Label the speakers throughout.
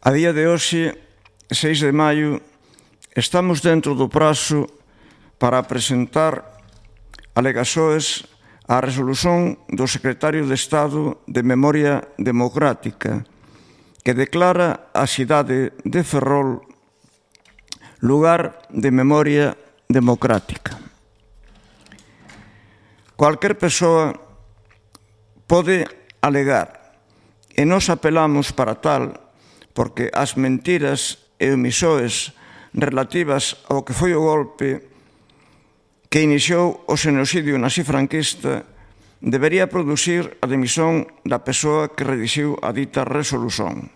Speaker 1: A día de hoxe, 6 de maio, estamos dentro do prazo para presentar alegaxoes á resolución do secretario de Estado de Memoria Democrática, que declara a cidade de Ferrol lugar de memoria democrática. Cualquier persoa pode alegar, e nós apelamos para tal, porque as mentiras e omisóes relativas ao que foi o golpe que iniciou o xenocidio nazi-franquista debería producir a dimisión da persoa que redixiu a dita resolución.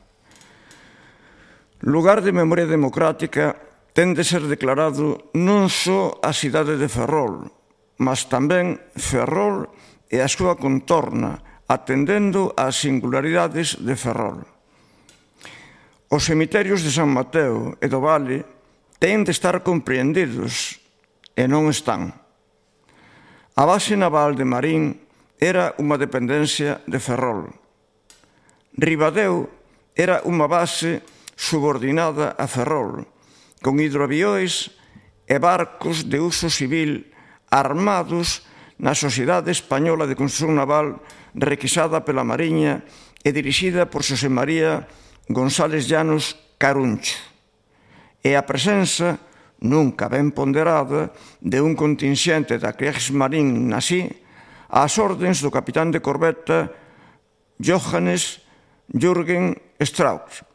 Speaker 1: Lugar de memoria democrática ten de ser declarado non só a cidade de Ferrol, mas tamén Ferrol e a súa contorna, atendendo ás singularidades de Ferrol. Os cemiterios de San Mateo e do Vale teñen de estar compreendidos, e non están. A base naval de Marín era unha dependencia de Ferrol. Ribadeo era unha base subordinada a Ferrol, con hidroavións e barcos de uso civil armados na Sociedade Española de Construción Naval requisada pela Mariña e dirixida por Xosé María González Llanos Caruncho. E a presenza, nunca ben ponderada, de un contingente da Kriegsmarine nazi ás ordens do capitán de corbeta Johannes Jürgen Strauss,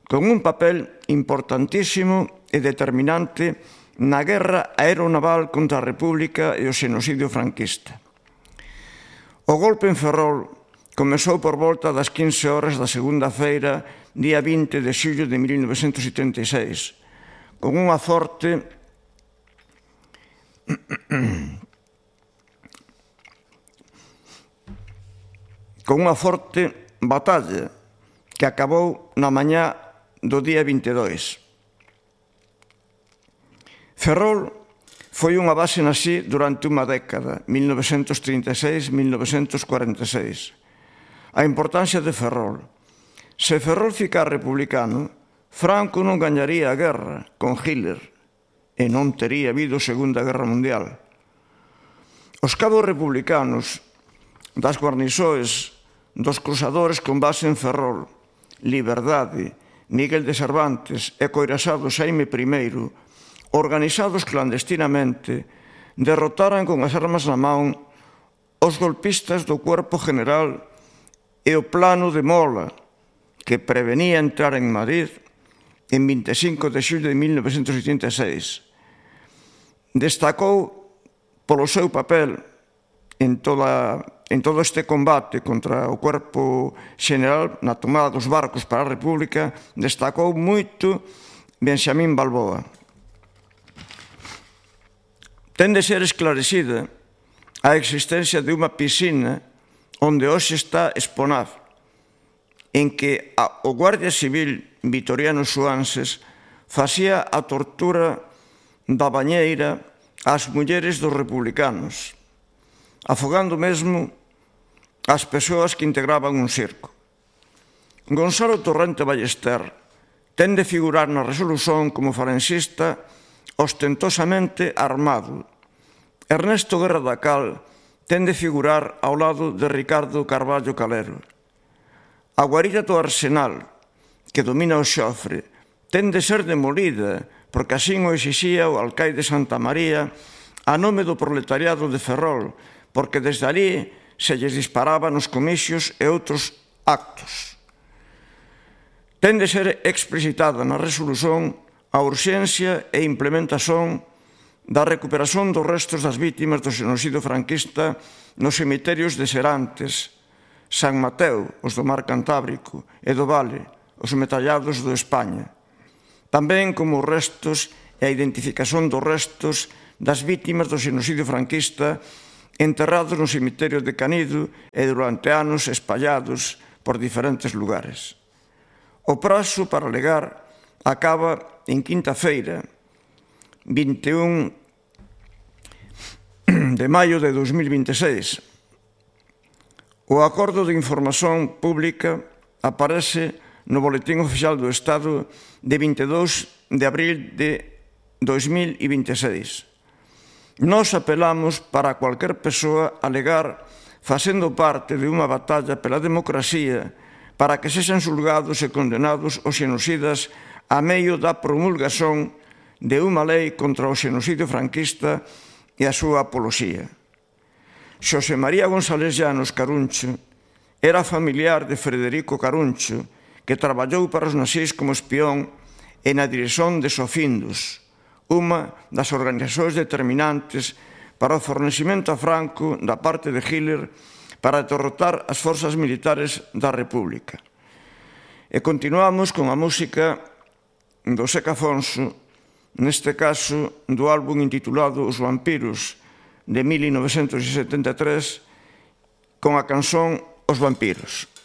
Speaker 1: con un papel importantísimo e determinante na guerra aeronaval contra a República e o xenocidio franquista. O golpe en Ferrol comezou por volta das 15 horas da segunda feira, día 20 de xullo de 1976, con unha forte batalla que acabou na mañá do día 22. Ferrol foi unha base nazi durante unha década, 1936-1946. A importancia de Ferrol. Se Ferrol ficar republicano, Franco non gañaría a guerra con Hitler e non tería habido Segunda Guerra Mundial. Os cabos republicanos das guarniçoes dos cruzadores con base en Ferrol, Liberdade, Miguel de Cervantes e Coirasado Xaime I, organizados clandestinamente, derrotaran con as armas na man os golpistas do Cuerpo General e o Plano de Mola, que prevenía entrar en Madrid en 25 de xullo de 1986. Destacou polo seu papel en todo este combate contra o Cuerpo Xeneral na tomada dos barcos para a República, destacou moito Benxamín Balboa. Ten de ser esclarecida a existencia de unha piscina onde hoxe está Exponaf, en que o Guardia Civil Vitoriano Suanses facía a tortura da bañeira ás mulleres dos republicanos, afogando mesmo as persoas que integraban un circo. Gonzalo Torrente Ballester ten de figurar na resolución como falangista ostentosamente armado. Ernesto Guerra da Cal ten de figurar ao lado de Ricardo Carballo Calero. A guarida do Arsenal, que domina o Xofre, ten de ser demolida, porque así o exixía o alcaide Santa María a nome do proletariado de Ferrol, porque desde ali se lles disparaba nos comicios e outros actos. Ten de ser explicitada na resolución a urxencia e implementación da recuperación dos restos das vítimas do xenocidio franquista nos cemiterios de Serantes, San Mateo, os do Mar Cantábrico, e do Vale, os metallados do España. Tamén como os restos e a identificación dos restos das vítimas do xenocidio franquista enterrados no cemiterio de Canido e durante anos espallados por diferentes lugares. O prazo para alegar acaba en quinta feira, 21 de maio de 2026. O acordo de información pública aparece no Boletín Oficial do Estado de 22 de abril de 2026. Nós apelamos para cualquier persoa alegar facendo parte de unha batalla pela democracia para que sexan xulgados e condenados os xenocidas a medio da promulgación de unha lei contra o xenocidio franquista e a súa apoloxía. Xosé María González Llanos Caruncho era familiar de Frederico Caruncho, que traballou para os nazis como espión e na dirección de Sofindus, unha das organizacións determinantes para o fornecimento a Franco da parte de Hitler para derrotar as forzas militares da República. E continuamos con a música do Seca Afonso, neste caso do álbum intitulado Os Vampiros, de 1973, con a canción Os Vampiros.